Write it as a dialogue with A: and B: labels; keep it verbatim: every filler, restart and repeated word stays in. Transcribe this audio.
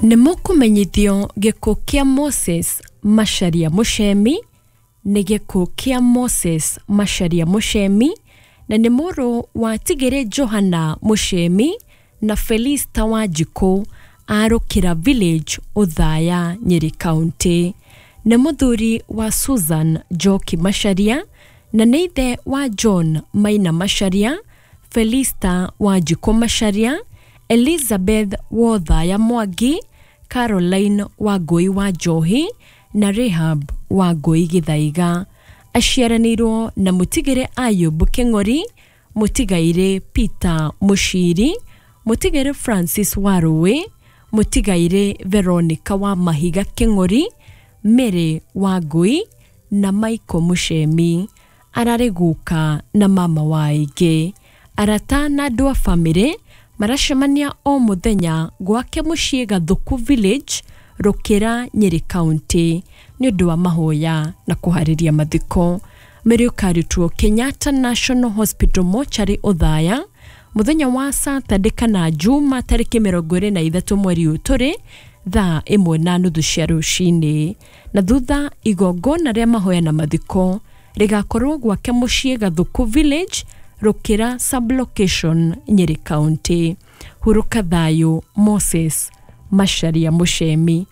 A: Nĩ mũkũmenyithio gĩkuũ kĩa Moses Macharia Muchemi. Nĩ gĩkuũ kĩa Moses Macharia Muchemi, na nĩ mũrũ wa Tigĩrĩ Johana Muchemi na Felista Wanjikũ a Rũkĩra Village, Othaya, Nyeri County. Nĩ mũthuri wa Susan Njoki Macharia na nĩ ithe wa John Maina Macharia, Felista Wanjikũ Macharia, Elizabeth Wothaya Mwangi, Caroline Wangũi wa Njohi na Rahab Wangũi Gĩthaiga. Aciaranĩirwo na mũtigĩrĩ Ayub Kĩng'ori, mũtigairĩ Peter Mũciri, mũtigairĩ Francis Warũĩ, mũtigairĩ Veronica wa Mahiga Kĩng'ori, Mary Wangũi na Michael Mũcemi. Ararĩ guka na mama wa aingĩ. Arata na andũ a bamĩrĩ maracemania o mũthenya gwake mũciĩ Gathuku Village, Rũkĩra, Nyeri County nĩ ũndũ wa mahoya na kũharĩria mathiko. Mwĩrĩ ũkarutwo Kenyatta National Hospital Mortuary, Othaya, mũthenya wa Saturday kana Juma tarĩki mĩrongo ĩrĩ na ithatũ mweri ũyũ tũrĩ, thaa ĩmwe na nuthu cia rũcinĩ, na thutha igongona rĩa mahoya na mathiko rĩgakorwo gwake mũciĩ Gathuku Village, Rũkĩra Sublocation, Nyeri County. Hurũka thayũ, Moses Macharia Muchemi.